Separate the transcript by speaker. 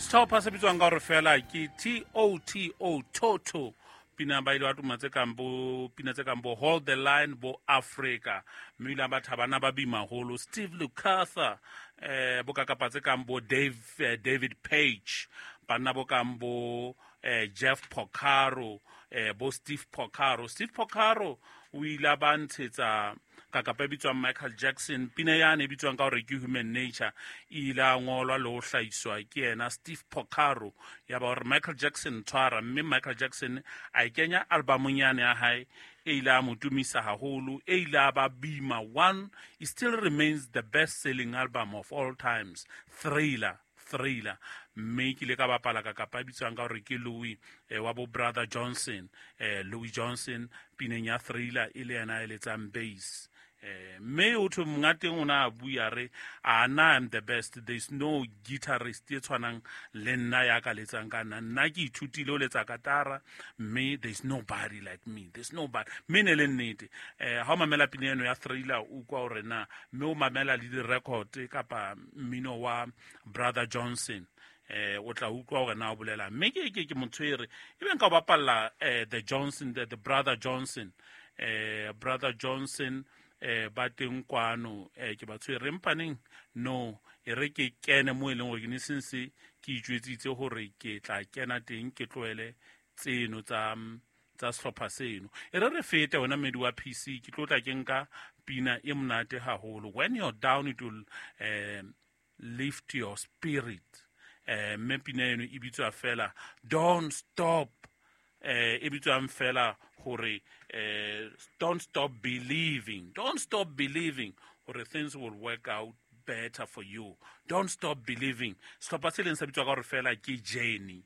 Speaker 1: Setlhopha se bitswang ka gore fela ke Toto, Toto. Pina ba ile ba tuma tse kang bo pina tse kang bo Hold the Line, bo Africa, mme ile ba thabana ba bima holo Steve Lukather, bo kakapa tse kang bo Dave, David Page, banna bo kang bo Jeff Porcaro, bo Steve Porcaro. Steve Porcaro o ile a ba ntshetsa kakapa e bitswang Michael Jackson. Pina yane e bitswang ka gore ke Human Nature e ile a ngolwa le ho hlahiswa ke yena Steve Porcaro, ya ba gore Michael Jackson tshwara, mme Michael Jackson a e kenya albumong yane ya hae e ile a mo tumisa haholo, e ile a ba bima one. It still remains the best selling album of all times, Thriller, Thriller. Mme ke ile ka bapala ka kapa e bitswang ka gore ke Louis, wa bo Brother Johnson, Louis Johnson, pineng ya Thriller e le yena e letsang bass. Mme o thwe monga teng o ne a bua re a na I'm the best, there is no guitarist e tshwanang le nna ya ka letsang ka nna, nna ke ithutile o letsa katara, mme there is nobody like me, there is nobody. Mme ne le nnete, ha o mamela pina eno ya Thriller o kwa hore na, mme o mamela le di-record kapa mmino wa Brother Johnson, o tla utlwa hore na o bolela. Mme ke motho e re e beng ka o bapalla, the Johnson, the Brother Johnson, Brother Johnson, ba teng kwano, ke ba tshwere mpaneng no e re ke kene mo e leng gore ke ne sense ke itjwetsitse hore ke tla kena teng, ke tlohele tseno tsa sehlopha seno. E re re fete wena mmedi wa PC, ke tlo tla ke nka pina e monate haholo. When you're down, it will lift your spirit. Mme pina eno e bitswa fela Don't Stop, e bitswang fela hore don't stop believing, don't stop believing hore things will work out better for you. Don't stop believing. Sehlopha se leng sa bitswa ka hore fela ke Journey.